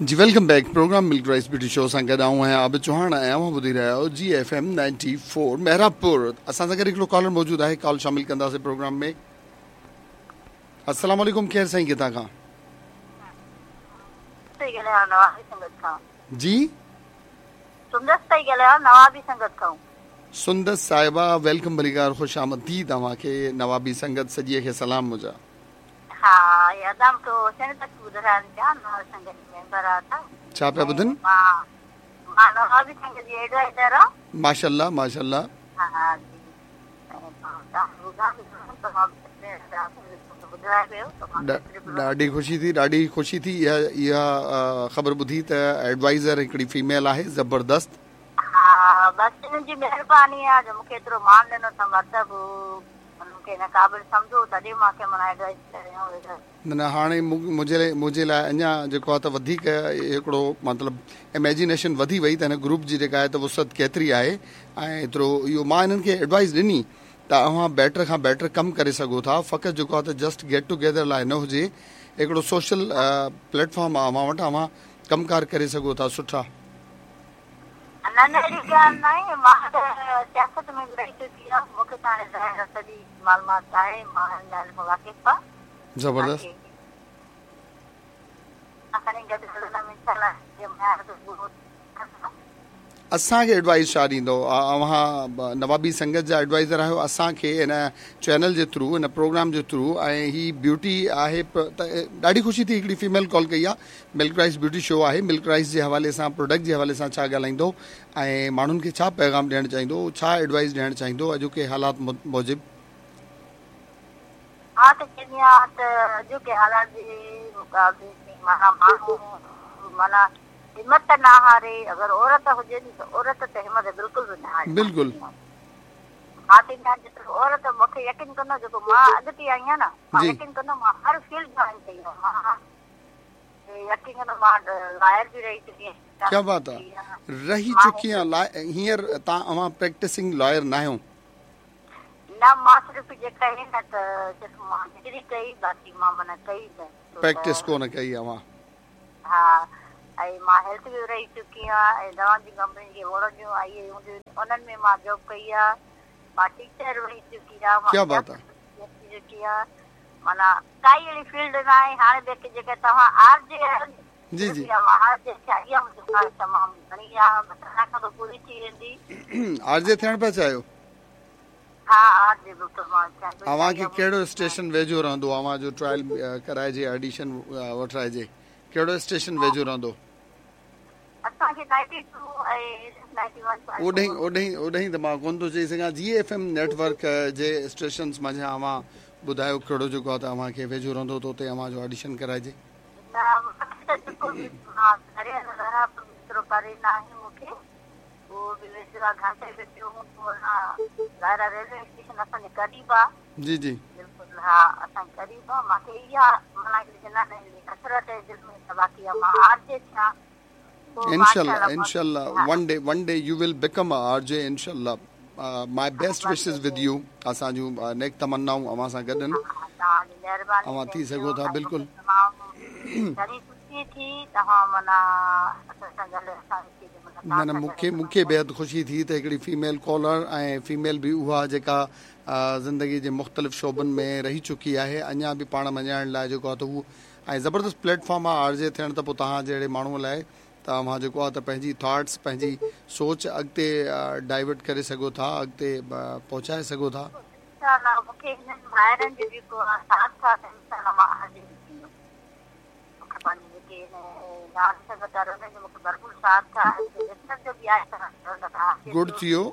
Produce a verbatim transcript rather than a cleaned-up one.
جي welcome back programme Milk Rice Beauty Show سان گڏ آئون آهيان عابد چوهاڻ ۽ اوهان ٻڌي رهيا آهيو G F M ninety four Mehrabpur اسان سان گڏ هڪڙو ڪالر موجود آهي ڪال شامل ڪنداسين پروگرام ۾ السلام عليڪم ڪير سائين ڪٿان کان جي سندس پئي ڳالهايان نوابي سنگت کان سندس صاحبه welcome ڀليڪار خوش آمديد اوهان کي نوابي سنگت سڄي کي سلام منهنجا ها ادا مون کي حسين بخش ٻڌرائن پيا نوابي سنگت جي ميمبر آ ته ڇا پيا ٻڌن مان مان نوابي سنگت جي ايڊوائزر آ ماشاءالله ماشاءالله ها جي ڏاڍي خوشي ٿي ڏاڍي خوشي ٿي اها اها خبر ٻڌي ته ايڊوائزر هڪڙي فيميل آهي زبردست ها بس انهن جي مهرباني آ جو مونکي ايترو مان ڏنو اٿن مرتبو مون کي هن قابل سمجهو تڏهن مان کي معنيٰ ايڊوائز ڪريو. نه نه هاڻي منهنجي منهنجي لاء اڃا جيڪو آهي ته وڌيڪ هڪڙو مطلب اميجينيشن وڌي وئي ته هن گروپ جي جيڪا آهي ته وسعت ڪيتري آهي ۽ ايترو اهو مان هنن کي ايڊوائز ڏني ته اوهان بيٽر کان بيٽر ڪم ڪري سگهو ٿا فقط جيڪو آهي ته جسٽ گيٽ ٽوگيدر لاء نه هجي هڪڙو سوشل پليٽ فارم آهي اوهان وٽ اوهان ڪم ڪار ڪري سگهو ٿا سٺا. نه نه اهڙي ڳالهه ناهي مان ته سياست ۾ به رهي چڪي آهيان مون کي ته هاڻي ظاهر آهي سڄي معلومات آهي مان هن ڳالهه کان واقف آهيان زبردست. باقي کڻي گڏ هلندم انشاء الله جي معيار تي پورو اسان کي ايڊوائيز ڇا ڏيندو اوهان نوابي سنگت جا ايڊوائيزر آهيو اسان کي هن چينل جي ٿرو هن پروگرام جي ٿرو ۽ هي بيوٽي آهي ته ڏاڍي خوشي ٿي هڪڙي فيميل ڪال ڪئي آهي ملڪ رائس بيوٽي شو آهي ملڪ رائس جي حوالي سان پروڊڪٽ جي حوالي سان ڇا ڳالهائيندو ۽ ماڻهن کي ڇا پيغام ڏيڻ چاهيندو ڇا ايڊوائيز ڏيڻ چاهيندو اڄوڪي حالات موجب. مان ته چوندي آهيان ته اڄوڪي حالات جي مقابلي ۾ معنيٰ ماڻهو معنيٰ همت نه هاري اگر عورت هجي ٿي ته عورت ته همت بلڪل به نه هاري بلڪل مان چوندي آهيان جيترو عورت مون کي يقين ڪندو جيڪو مان اڳتي آئي آهيان نه مان جي يقين ڪندو مان هر فيلڊ جوائن ڪئي آهي مان يقين ڪندو مان لائر به رهي چڪي آهيان ڪيا بات آ رهي چڪي آهيان لا هينئر تان اوهان پريڪٽسنگ لائر ناهيو نه مان صرف جيڪا آهي نه ته صرف مان ڊگري ڪئي باقي مان معنيٰ ڪئي نه پريڪٽس ڪونه ڪئي اوهان ها ۽ مان هيلٿ به رهي چڪي آهيان ۽ دوائن جي ڪمپني جي ووڙن جون آئي هونديون آهن انهن ۾ مان جاب ڪئي آهي مان ٽيچر رهي چڪي آهيان مان ڪيا بات آ سياست ٿي چڪي آهيان معنيٰ ڪائي اهڙي فيلڊ نه آهي هاڻي به جيڪي توهان آر جي آهيو جي جي مان آر جي ٿيان اها منهنجي خواهش تمام گهڻي آهي بس اڃا کان ته پوري ٿي ويندي آر جي ٿيڻ پيا چاهيو ها آر جي بلڪل مان ٿيڻ پئي اوهان کي چاهيان ڪهڙو اسٽيشن ويجهو رهندو اوهان جو ٽرائل ڪرائجي آڊيشن وٺرائجي ڪهڙو اسٽيشن ويجهو رهندو؟ اسان کي ninety two ۽ ninety one point اوڏهين اوڏهين اوڏهين ته مان ڪونه ٿو چئي سگهان G F M network جي اسٽيشنس منجهان اوهان ٻڌايو ڪهڙو جيڪو آهي ته اوهان کي ويجهو رهندو ته اتي اوهان جو آڊيشن ڪرائجي. نه مونکي ته بلڪل به ها گهر ايترو پري ناهي مونکي اهو به ويجهو آهي گهنٽي به پيو هوندو آهي ظاهر آهي ريلوي اسٽيشن اسان جي قريب آهي. جي جي. بلڪل ها اسان جي قريب آهي مانکي اها معنيٰ هڪڙي جنان حسرت آهي دل ۾ ته باقي اها مان آر جي ٿيان پوء انشاءالله ماشاءالله انشاءالله ها one day one day you will become a R J انشاءالله my best wishes with you اسان جون نيڪ تمنائون اوهان سان گڏ آهن ها توهان جي مهرباني اوهان ٿي thank you سگهو ٿا ۽ مونکي بلڪل تمام گهڻي خوشي ٿي توهان معنيٰ اسان سان گڏ اسان کي نه نه مون کي مون کي بيحد خوشي ٿي ته هڪڙي فيميل ڪالر ۽ فيميل به اها جيڪا زندگي جي مختلف شعبن ۾ رهي چڪي آهي اڃا به پاڻ مڃائڻ لاء جيڪو آهي ته هو ۽ زبردست پليٽ فارم آهي آر جي ٿيڻ ته پوء توهان جهڙي ماڻهو لاء ته اوهان جيڪو آهي ته پنهنجي ٿاٽس پنهنجي سوچ اڳتي ڊائيورٽ ڪري سگهو ٿا اڳتي پهچائي سگهو ٿا. انشاء الله مون کي هنن ڀائرن جو جيڪو ساٿ آهي ته انشاء الله مان آر جي به ٿيندم. مون کي پنهنجي جيڪي هن ناز سنگت وارا انهن جو مون کي ڀرپور ساٿ آهي ۽ ڏسڻ جو به آهي ته گڊ ٿيو.